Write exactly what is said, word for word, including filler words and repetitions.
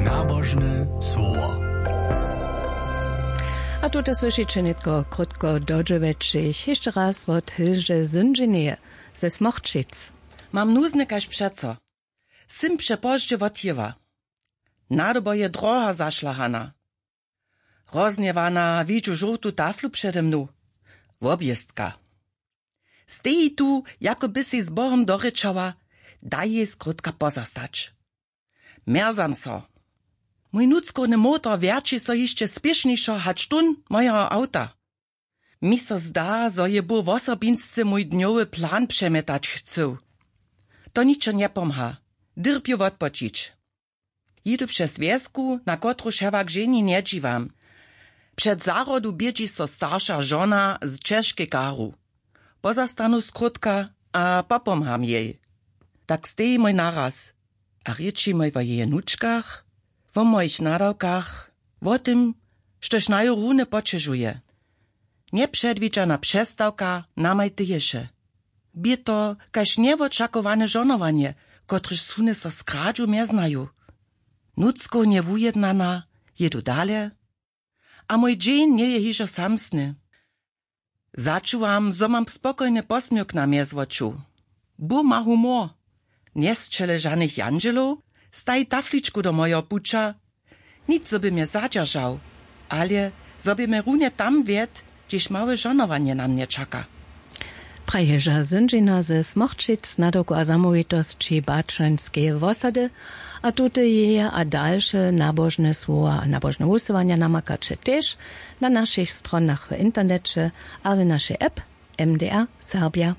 Nabožne słowo. A tute słyšiće nětko krótko do dźewjećich hišće raz wot hilže zyndźineje ze smorčic. Mam nuzne kaž přeco. Sym přepozdźe wothěła. Nadobo je droha zašlahana. Roznjewana widźu žołtu taflu přede mnu. Wobjěstka. Steji tu, jako by sej z bohom dorěčała. Daj jej skrótka pozastać. Mjerzam so. Mój nutřkowny motor wjerći so hišće spěšnišo hač tón mojeho awta. Mi so zda, zo je bóh wosobinsce mój dnjowy plan přemjetać chcył. To ničo njepomha. Dyrpju wotpočić. Jědu přez wjesku, na kotruž hewak ženi njedźiwam. Před zahrodu bědźi so starša žona z ćežkej karu. Pozastanu skrótka a popomham jej. Tak steji mój naraz a rěči mój wo jeje nučkach, wo mojich nadawkach, wo tym, štož naju runje poćežuje. Njepředwidźana přestawka namaj teješe. Bě to kaž njewočakowany žonowanje, kotrež suny so skradźu mjeznaju. Nutřkownje wujednana, jědu dale. A mój dźeń njeje hižo samsny. Začuwam, zo mam spokojne posměłk na mjezwoču. Bóh ma humor. Njesćele žanych jandźelow, staji tafličku do mojeho puća. Nic zo by mje zadźeržał, ale zo by mje runje tam wjedł, hdźež małe žonowanje na mnje čaka. Praježa zyndźina ze smorčic nadawku a zamołwitosći bačańskeje wosady. A tute jeje a dalše nabožne słowa a nabožne wusyłanja namakaće tež na našich stronach w interneće a w našej app. M D R Serbja.